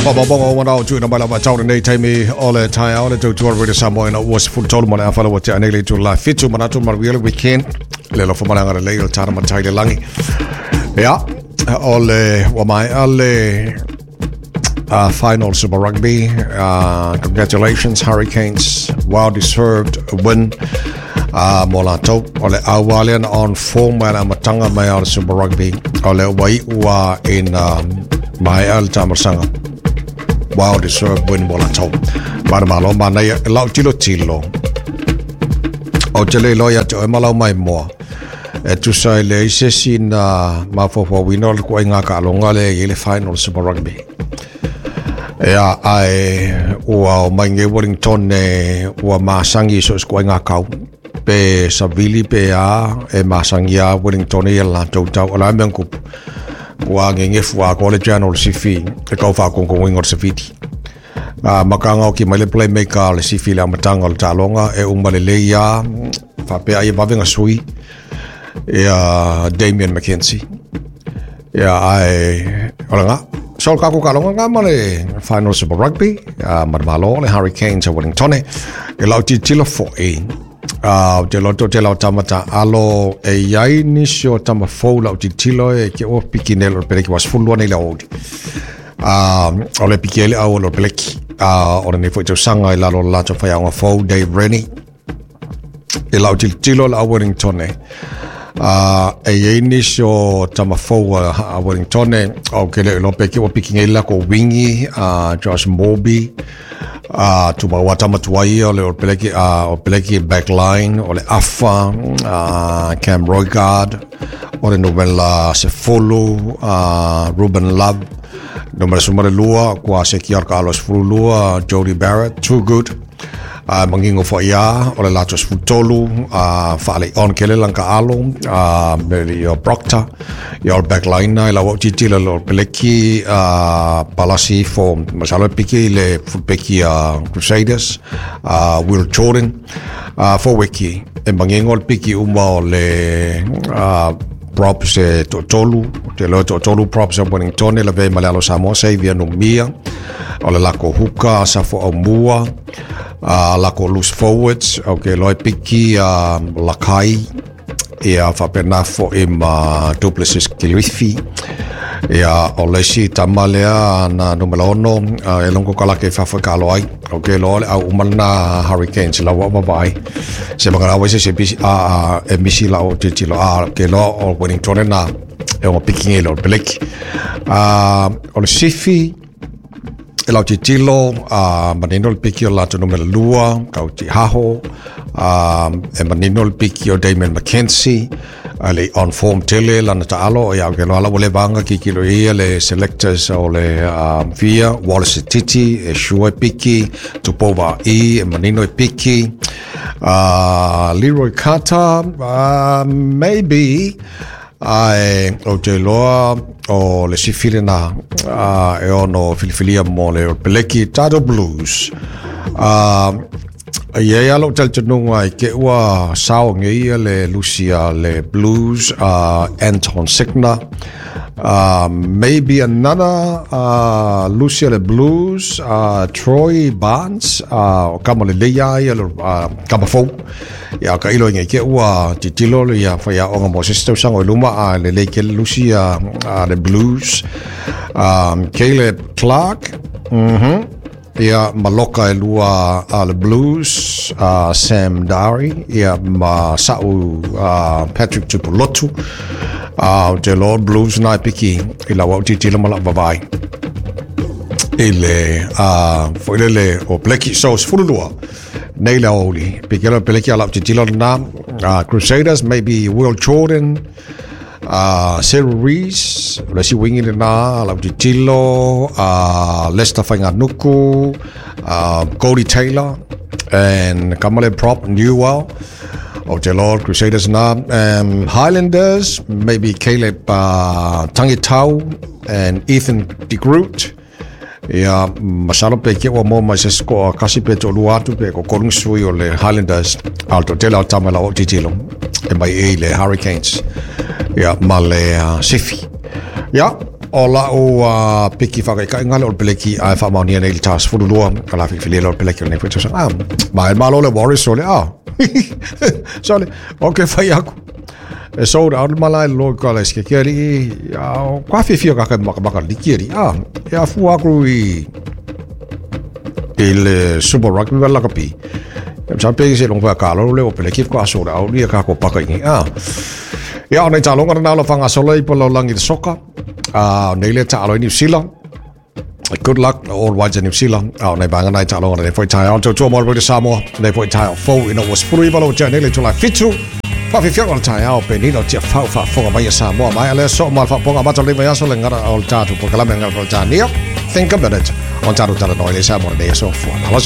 Faamaumauga ua manao tuuina mai lava tau lenei taimi o le taeao le tautua Radio Samoa ina ua 13:30 ua tea nei le itula 7 manatu manuia le weekend le alofa ma le agalelei o le tana matai le lagi. Ia, o le ua maea le final Super Rugby. Congratulations Hurricanes, well deserved win. Mo latou o le aua lea na on form mai le amataga mai o le Super Rugby o le ua iu ina maea le taamalosaga. Well deserved win mo latou. Manumalo manaia e lau tilotilo o te le iloa ia te oe ma lau maimoa e tusa i leai se isi na mafaufauina o le ituaiga taaloga lea e i ai le final Super Rugby. Ia, ae ua o mai nei Wellington e ua masagi i so o se ituaiga kau. Pe savili pe a, e masagi lava Wellington ia le latou tau. O le a le mea na tupu? Ua gegefu atoa le channel o le sifi e tau faatonutonu o le savili. A maka oki mai le playmaker o le sifi i le amataga o le taaloga e uma lelei lava faapea ai e vave ona sui ia Damien McKenzie. Ia ae o lena. So le tatou taaloga lena ma le final Super Rugby ma le Malo le Hurricanes a Wellington. E lau tilotilo foi ou te iloa toatele o tama taalo e i ai nisi o tama fou lau tilotilo e ke ua piki nei le peleki ua 12 nei le aoauli. O le piki ai le au o le peleki. O lenei foi tausaga i lalo o le latou faiaoga fou Dave Rennie. E lau tilotilo le au Wellington e i ai nisi o tama fou a Wellington ou te le iloa pe ke ua piki nei le latou wingi Josh Morby tumau a tama tuai ia o le Peleki o Peleki backline o le Afa Cam Roigard o le numera 10 Ruben Love numera 12 kua seki o le kaalo 12 Jody Barrett too good mangingo foi ia o le latou 13 faalei on kele lana kaalo me le ia Proctor ia o le backline e lau au tilotilo le Peleki palasi ifo masalo e piki i le fulpeki a Crusaders Will Jordan foweki e mangingo le piki uma o le props e toatolu te iloa e toatolu props a Wellington e lavea ma le alo Samoa Xavier Numia o le lako huka Safo Aumua lako loose forwards o ke iloa e piki Lakai ia faapena foi ma Duplessis Kilifi ia o le isi tama lea na numera 6 e longo kalake i fafo e kaalo ai o ke iloa o le au uma lena Hurricanes lau au vaavaai se makalaua se se bisi a e misi lau tilotilo a ke iloa o Wellington na e ona piki nei le Peleki o le sifi e lau tilotilo manino le piki o le latou numera 2 kau Tihaho e manino le piki o Damien McKenzie le on form tele lana taalo ia ke loa ua leva anga kikilo ia le selectors o le fia Wallace Titi e sure piki Tupou i e manino e piki Leroy Carter maybe ae ou te iloa o le sifi lena e ono filifilia mo le Peleki Tato Blues. E i ai lava lou talitonuga i ke ua sao ngeia le lusi a le Blues Anton Signer. Maybe another lusi a le Blues Troy Barnes o kama lelei lava ia le kama fou. Ia ka ilo i ke ua tilotilo le ia faiaoga mo se isi tausaga i luma a lelei tele lusi a le Blues. Caleb Clark ia ma loka e lua a le Blues Sam Darry ia ma sa'u Patrick Tupulotu o te iloa Blues na e piki i lau au tilotilo ma lau vaavaai i le foi lele o Peleki. So 12 nei le aoauli piki le Peleki a lau tilotilo lena. Crusaders maybe Will Jordan Cyril Rees o le isi wingi lena lau tilotilo Lester Faingānuku Cody Taylor and kama le prop Newell o te Lord Crusaders na. Highlanders maybe Caleb Tangitau and Ethan de Groot ia masalo pe ke ua moa mai se isi koa kasi pe toalua atu pe toatolu sui o le Highlanders a o le toatele o tama lau au tilotilo e mai i le Hurricanes ia ma le sifi ia. O lau piki whakaikaiga le o le peleki ae faamaonia nei le ta 12 ka la filifilia le o le peleki o lenei foi tausaga. Ah, ma e malo le Warriors so le ah. So le, ok fai aku. E sold out le malae le loa ka le sike kia li a kwa fiafia ka kai maka maka liki ali. Ah, e afu aku i i le Super Rugby ma lakapi. E sa pe se long fa ka lo le o peleki ko sold out ia ka ko paka i. Ah. Ia o nei talonga na lo whanga solo i polo langi le soka. Nei le taalo i New Zealand. Good luck All Whites in New Zealand. A o nei vanga nei taaloga nei foi taeao. Tautua mo le Samoa. Nei foi taeao fou ina ua 19 lo tea nei le itula e 7. Whawhiwhianga o le taeao penina o tia fau whaafonga mai a Samoa. Mai a lea so ma le whaaponga mata o le vaiaso le ngara o le tātou polokalame ngara Peretania. Think a minute. On tātou talanoa i le Samoa nei aso fua. Malo.